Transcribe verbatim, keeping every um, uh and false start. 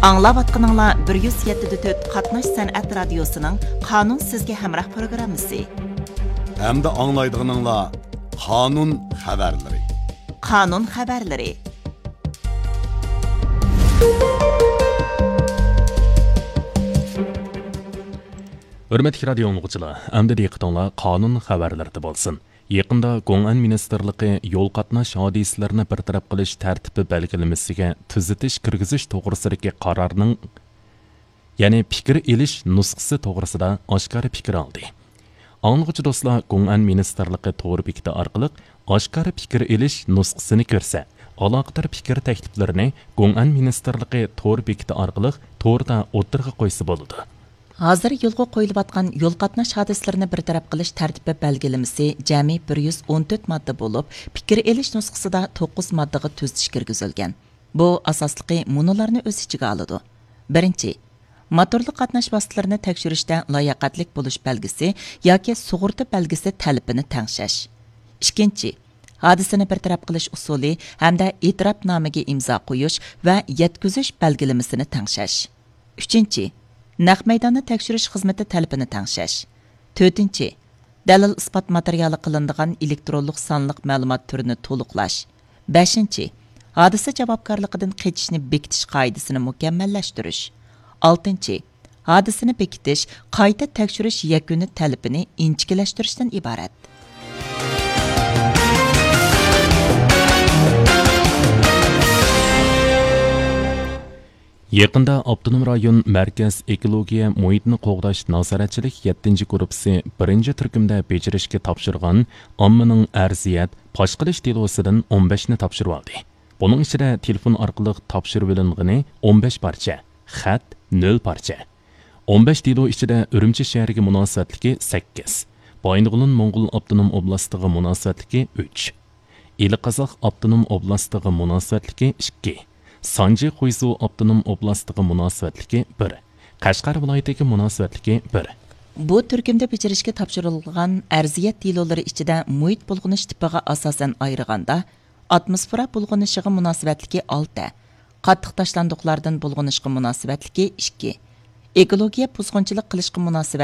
ئاڭلاۋاتقىنىڭلار بىر يۈز يەتتە دە تۆت قاتناش سەنئەت رادىيوسىنىڭ قانۇن سىزگە ھەمراھ پروگراممىسى. ھەمدە ئاڭلايدىغىنىڭلار قانۇن خەۋەرلىرى. قانۇن خەۋەرلىرى. ھۆرمەتلىك رادىيو ئاڭلىغۇچىلار، ئەمدى دىققىتىڭلار قانۇن خەۋەرلىرىدە بولسۇن. يېقىندا گوڭئەن مىنىستىرلىقى يول قاتناش ھادىسىلىرىنى بىر تەرەپ قىلىش تەرتىپى بەلگىلىمىسىگە تۈزىتىش كىرگۈزۈش توغرىسىدىكى قارارنىڭ، يەنى پىكىر ئېلىش نۇسخىسى توغرىسىدا ئاشكارا پىكىر ئالدى. ئاڭلىغۇچى دوستلار گوڭئەن مىنىستىرلىقى تور بېكىتى ئارقىلىق ئاشكارا پىكىر ئېلىش نۇسخىسىنى كۆرسە، ئالاقىدار پىكىر تەكلىپلىرىنى گوڭئەن مىنىستىرلىقى تور بېكىتى ئارقىلىق توردا ئوتتۇرىغا قويسا بولىدۇ. ھازىر يولغا قويۇلۇۋاتقان يول قاتناش ھادىسىلىرىنى بىر تەرەپ قىلىش تەرتىپى بەلگىلىمىسى جەمئىي بىر يۈز ئون تۆت ماددا بولۇپ، پىكىر ئېلىش نۇسخىسىدا توققۇز ماددىغا تۈزىتىش كىرگۈزۈلگەن. بۇ ئاساسلىقى مۇنۇلارنى ئۆز ئىچىگە ئالىدۇ. بىرىنچى، موتورلۇق قاتناش ۋاسىتىلىرىنى تەكشۈرۈشتە لاياقەتلىك بولۇش بەلگىسى ياكى سۇغۇرتا بەلگىسى تەلىپىنى تەڭشەش. ئىككىنچى، ھادىسىنى بىر تەرەپ قىلىش ئۇسۇلى ھەمدە ئېتىراپنامىگە ئىمزا قويۇش ۋە يەتكۈزۈش بەلگىلىمىسىنى تەڭشەش. ئۈچىنچى، نەق مەيداننى تەكشۈرۈش خىزمىتى تەلىپىنى تەڭشەش. تۆتىنچى، دەلىل ئىسپات ماتېرىيالى قىلىنىدىغان ئېلېكترونلۇق سانلىق مەلۇمات تۈرىنى تولۇقلاش. بەشىنچى، ھادىسە جاۋابكارلىقىدىن قېچىشنى بېكىتىش قائىدىسىنى مۇكەممەللەشتۈرۈش. ئالتىنچى، ھادىسىنى بېكىتىش، قايتا تەكشۈرۈش يەكۈنى تەلىپىنى ئىنچىكىلەشتۈرۈشتىن ئىبارەت. يېقىندا ئاپتونوم رايون مەركەز ئېكولوگىيە مۇھىتنى قوغداش نازارەتچىلىك يەتتىنچى گۇرۇپپىسى بىرىنچى تۈركۈمدە بېجىرىشكە تاپشۇرغان ئاممىنىڭ ئەرزىيەت پاش قىلىش دېلوسىدىن ئون بەشنى تاپشۇرۇۋالدى. بۇنىڭ ئىچىدە تېلېفون ئارقىلىق تاپشۇرۇۋېلىنغىنى ئون بەش پارچە، خەت نۆل پارچە. ئون بەش دېلو ئىچىدە ئۈرۈمچى شەھىرىگە مۇناسىۋەتلىكى سەككىز، بايىنغولىن موڭغۇل ئاپتونوم ئوبلاستىغا مۇناسىۋەتلىكى ئۈچ، ئىلى قازاق ئاپتونوم ئوبلاستىغا مۇناسىۋەتلىكى ئىككى، سانجى خۇيزۇ ئاپتونوم ئوبلاستىغا مۇناسىۋەتلىكى بىر، قەشقەر ۋىلايىتىگە مۇناسىۋەتلىكى بىر. بۇ تۈركۈمدە بېجىرىشكە تاپشۇرۇلغان ئەرزىيەت دېلولىرى ئىچىدە مۇھىت بۇلغىنىش تىپىغا ئاساسەن ئايرىغاندا، ئاتموسفېرا بۇلغىنىشىغا مۇناسىۋەتلىكى ئالتە، قاتتىق تاشلاندۇقلاردىن بۇلغىنىشقا مۇناسىۋەتلىكى ئىككى، ئېكولوگىيە بۇزغۇنچىلىق قىلىشقا مۇناسىۋەتلىك